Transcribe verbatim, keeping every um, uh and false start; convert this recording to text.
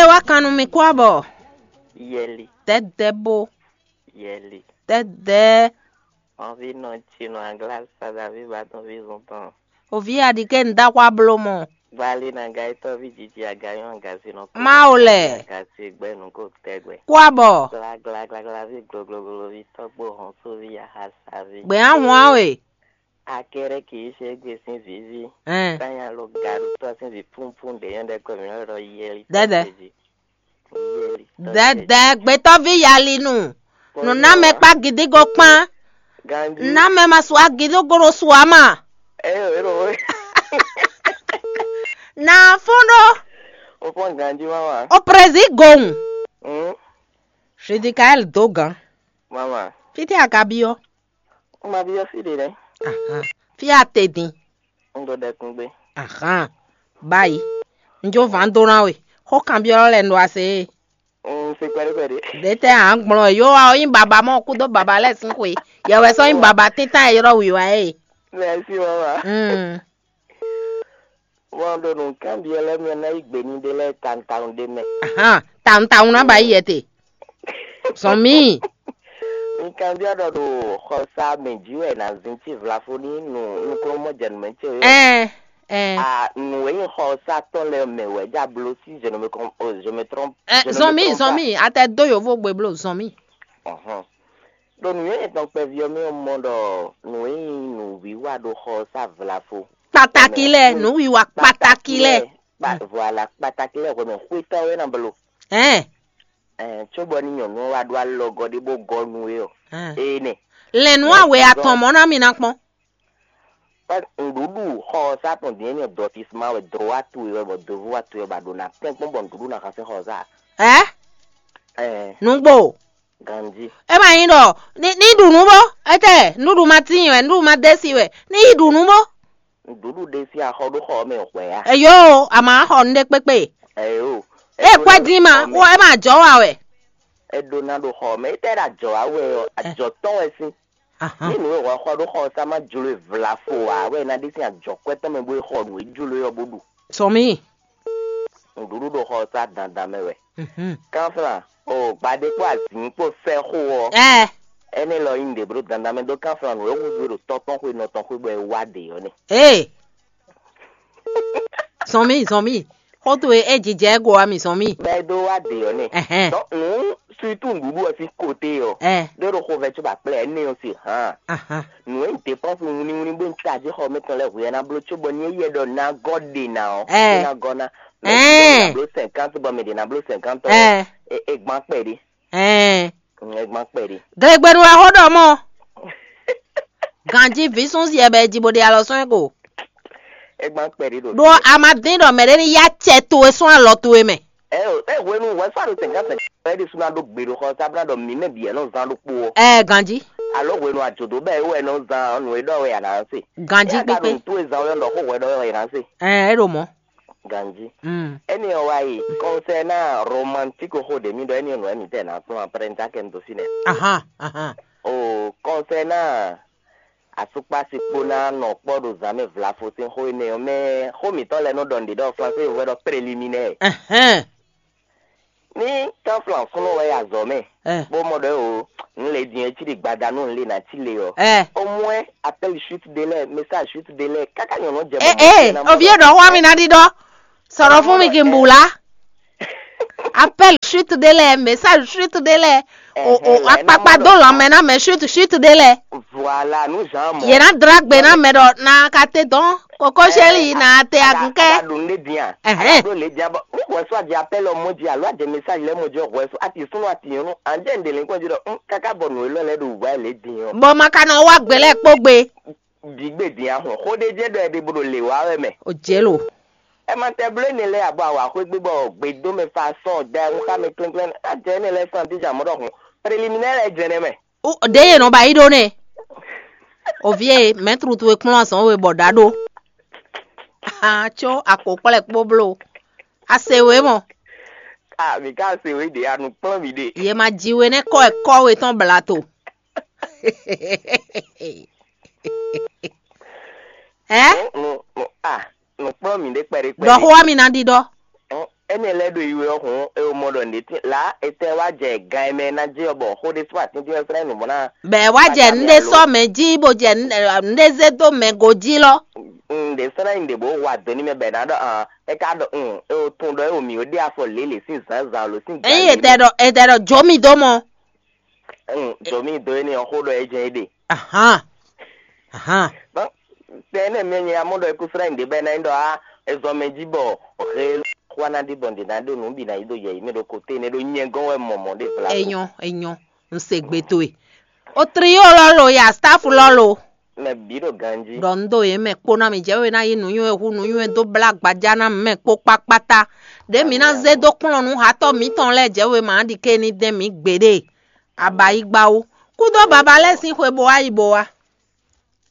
Wá kan nú mi kú abɔ. Yɛli, Dɛdɛ bo. Yɛli. Dɛdɛ. Ɔvi nɔ tsi nɔ agla sa Davi ba tɔn vi zun tɔn. Ovi aɖike n da xwa blo mɔ. Gbali na ga etɔ vi jiji aga yɔn aga si nɔ. Mawu lɛ. Aga si gbɛ nu ko tɛgbɛ. Kú abɔ. Gla gla gla gla vi gloglo vi tɔgbo hɔn so vi aha sa vi. Gbɛ ahun awe. Akɛrɛ kì í ṣe gbé sín vivi. Ɛn. Sáyà ló ga ɖo tɔ sín vi púnpún ɖe yɔn ɖe kɔ mi lɔ yɛli. Dɛdɛ. Dɛdɛ gbɛtɔ́ví yalinu. Nǔnámɛkpá gidígo kpán. Ganji. Námɛ ma su agidígo ɖo su ama. Eyo ero. Na fún ɖó. O fɔn ganji mama. O prezi gowun. Hmm. Judikael dó gan. Mama. Fítɛ́ a ka byɔ́? Ó ma byɔ́ fí ɖě nɛ́. Ahan. Fí a te din. Un ɖo ɖɛkun gbé. Ahan. Báyìí. Un jó vǎn dó ná we. Xó kanbyɔ́ lɛ́ɛ un ɖo ase e. Un se kpɛɖé kpɛɖé. Ɖě tɛ́ a nǎ gblɔ́n ɛ? Yǒ wa ɔ́ nyí baba mɔ kúdó baba lɛ́ɛ sín xwe. Yɛ wɛ sɔ́ nyí baba tíntan e ylɔ́ wǐwá e. Mɛsi mama. Mm. Wọn ɖo nǔkanbyɔ́ lɛ́ɛ mɛ ná yí gbe ní ɖé lɛ́ɛ tantawun ɖé mɛ. Ahan, tawun tawun ná ba yi yɛ te. Zɔn mí. Nǔkanbyɔ́ ɖɔ ɖo xɔsa mɛ jí wɛ nǎ zin cí vlafo ní nǔ nukúnnú mɔ jɛ nǔ mɛ ce o. Ɛn, ɛn. A nǔ e nyí xɔsa tɔn lɛ́ɛ mɛ wɛ já bló sí je ne me com oh, je me trompe. Ɛ, je ne me zɔn mí, trompe zɔn pas. Mí, atɛ dó yovo gbe bló zɔn mí. Ɔhɔn. Ɖo nǔnywɛ́ yětɔn kpɛví ɔ́ mɛ ɔ́ mɔ ɖɔ nǔ e nyí nǔwiwa ɖo xɔsa vlafo. Kpataki lɛ, nǔwiwa kpataki lɛ. Kpa- voilà, kpataki lɛ hwɛmɛ xwetɔ wɛ na blo. Ɛn. Ɛn, tso bɔ ni nyɔnu ɔ́ wá ɖó alɔgɔ ɖé bó gɔ nú é ɔ. Ɛn. Ene. Lɛnu awe atɔn mɔ na mi na kpɔn. Nuɖuɖu xɔsa tɔn din ni dɔtisma wɛ dro wa tu wɛ bɔ dovu wa tu wɛ ba ɖo na kpɛn kpɔn bɔ nuɖuɖu na xasɛ xɔsa. Ɛ. Ɛn. Nugbo. Ganji. E ma nyí ɖɔ ni ni ɖu nú bó. Etɛ nuɖu ma tín wɛ, nuɖu ma desi wɛ, ni yi ɖu nú bó. Nuɖuɖu ɖe sín axɔ ɖó xɔ mɛ hwɛ ya. Eyo, a ma xɔ nu ɖe kpékpé. Eyo. E kwɛ dín ma, wo e ma jɔ wa wɛ. Eɖo na ɖo xɔ mɛ, etɛ ɖe ajɔ wa wɛ ɔ, ajɔ tɔn wɛ sín. Ahan. Ní nǔ e wɔ xɔ ɖó xɔ sa ma jlo e vlafo wa wɛ na ɖe sín ajɔ kwɛ tɔn mɛ bó e xɔ nǔ e jlo e ɔ bó ɖu. Sɔmi. Nuɖuɖu ɖo xɔ sa dandan mɛ wɛ. Mhm. Kanflan, o gbadé kpó azǐn kpó fɛ́ xo ɔ. Ɛ. Ɛnɛ lɔ nyí nǔɖé bló dandan mɛ ɖó kanflan nǔ e húzú e ɖo tɔ́ tɔn xwé nɔ tɔn xwé bɔ é wá ɖě ɔ́ nɛ. Ee. Zɔn mì, zɔn mì. Xó towe é jijɛ go wá mì zɔn mì. Bɔ é ɖó wá ɖě ɔ́ nɛ. Ɛhɛn. Donc nǔ surtout nǔɖuɖu ɔ́ sín côté ɔ. Ɛ. Ɖó ɖo xovɛ có ba kplé ɛnɛ ɔ́ sín hǎn. Ahan. Nǔ e nyí dépense wínníwínní bó nyí tají xɔ mɛtɔn lɛ́ɛ hwe ɔ́ ná bló cóbɔ ní é yɛ ɖɔ ná gɔ́ ɖe ná ɔ́, Ɛ. É ná gɔ́ ná. Mɛ Ɛ. Ɖě na bló cinquante bɔ mɛ ɖě na bló cinquante ɔ́, Ɛ. É é gbán kpɛɖé. Ɛɛ. Mm, é gbán kpɛɖé. Glegbenu wɛ xó ɖɔ mɔ. Ganji vǐ sún siɛ bɛ ji bó ɖe alɔ sɔ́n ɛ ko. É gbán kpɛɖé ɖo. Ɖó a ma dín ɖɔ mɛ ɖé ní yá cɛ towe sún alɔ towe mɛ. Ɛ o, é hwenu wɛ sɔ́ ɖo cinquante cinquante ɛ ɖi sún ná ɖó gbe ɖo xɔ sábúná ɖɔ mǐ mɛ bǐ ɛ nɔ zán ɖokpó ɔ. Ɛɛ ganji. Alo hwenu àjòdó bɛ é wɛ nɔ zán nǔ e ɖɔ wɛ à nǎ se. Ganji kpékpé. Nǔ towe zán wɛ ɖɔ xó hwɛ ɖɔ wɛ à nǎ se. Ɛɛ é ɖo mɔ. Ganji. Mm. Eni ɔ wa yi concernant romantique xo ɖe mi ɖɔ eni ɔ nɔ emi tɛ na tún après n ta kɛ n do si nɛ. Ahan, ahan. O concernant asukpasi kpo na nɔ kpɔ ɖo zan mɛ vlafo sin xo ene ɔ mɛ xo mitɔ lɛ nɔ ɖɔ nɖe ɖɔ français yo vɛ ɖɔ préliminaire. Ɛhɛn. Ní tánflan súnnu wɛ yi azɔ̌ mɛ, Ɛ. Bó mɔ ɖɔ o, un lě din e cí ɖi gbada nú un lě ná cí le ɔ́. Ɛ. Au moins appel chute de lait, message chute de lait, káká nyɔ̌nu jɛ Ɛ mɔmɔ ɛ, ná mɔ ovi ɖɔ ɖɔ xɔ mi ná ɖi ɖɔ. Sɔ̀rọ̀ fún mi kí n bù lá. Appel chute de lait, message chute de lait. O o Ɛhɛn, là, é ná akpakpa mɔ dó ɖɔ lɔmɛ ná mɛ chute chute de lait. Voilà, nú Jean mɔ. Yě ná dra gbe ná mɛ ɖɔ na ka te dɔn. Koko chéri na te agun kɛ. Aɖo nu ɖe dia. Ɛhɛn. Aɖo le dia bɔ. N wɔ so adi appel ɔ mɔ dzi alo adi message lɛ mɔ dzi ɔ wɔ so ati sunu ati yɔn nu. Anjɛ n de le kɔ dzi ɖɔ n kaka bɔ nu elɔ lɛ ɖo wɔ le di yɔn. Bɔ ma ka nɔ wa gbe lɛ kpó gbe. Di gbe dia hɔn. Xo ɖe jɛ ɖɔ ɛdi bo ɖo le wa wɛ mɛ. O jɛ lo. Ɛ ma tɛ blo ne lɛ abɔ awa xo gbe bɔ gbe do mɛ fa sɔn da n xa mɛ klɛnklɛn. Ajɛ ne lɛ sɔn ti ja mɔ ɖɔ hɔn. Préliminaire lɛ jɛ ne mɛ. Ɖě yě nɔ ba yí ɖó nɛ. Ovie mɛtru towe kplɔ́n azɔn we bɔ ɖa ɖó. Ahan, có akpokplɛ kpó bló. A se we mɔ. A mi ka se we ɖe a nu kplɔ́n mi ɖe. Yě ma ji we nɛ́ kɔ wɛ kɔ we tɔn bla to. Ɛ? Nu nu a nu kplɔ́n mi ɖe kpɛɖé kpɛɖé. Ɖɔ xó wa mi ná ɖiɖɔ. Énɛ́ lɛ́ɛ ɖo yi wɛ ɔ́ hǔn, é o mɔ ɖɔ nǔɖé tín la, etɛ́ wá jɛ gan e mɛ e ná jɛ ɔ́, bɔ xó ɖé sín atín tín ɔ́ slɛ́ nǔ mɔ ná. Bɛɛ wá jɛ nǔɖé sɔ́ mɛ jí bó jɛ nǔɖé zé dó mɛ go jí lɔ. Nǔɖé slɛ́ nyi ɖě bó wa dǒ ní mɛ bɔ è nǎ ɖɔ hǎn, é ka ɖɔ hǔn, é o tunwun ɖɔ é o mǐ ó ɖe afɔ lělě sín zǎnzǎn lo sín Ényí ètɛ ɖɔ ètɛ ɖɔ jó mì dó mɔ. Hǔn, dǒ mì dó énɛ́ ɔ́ xó ɖɔ é jɛ́n é ɖe. Ahán. Ahán. Tɛ énɛ́ mɛ nyɛ amɔ ɖɔ é kú slɛ́ nyi ɖě bɔ é ná nyí ɖɔ á, é zɔn mɛ jí bɔ he xó ná ɖi bɔ nǔɖé ná ɖo nǔ bǐ ná yi ɖo yɛ̌yi mɛ ɖo kote énɛ́ ɖó nyɛ gɔ́n wɛ mɔmɔ ɖe vla. Enyɔ enyɔ. N se gbe towe. O trio lɔ lo ya staff lɔ lo. Mɛ bǐ ɖo ganjí. Ɖɔ n ɖo yě mɛ kpó ná mi jɛ we ná yí nǔnywɛ́ hu nǔnywɛ́ dó blá gbaja ná mɛ kpó kpákpátá. Ɖě mi ná zé dó kplɔ́n nú hatɔ́ mǐtɔn lɛ́ɛ jɛ we ma ɖi ké ní dɛn mǐ gbeɖé. Abayigba wú. Kúdó baba lɛ́ɛ sín xwe bo wá yi bo wá.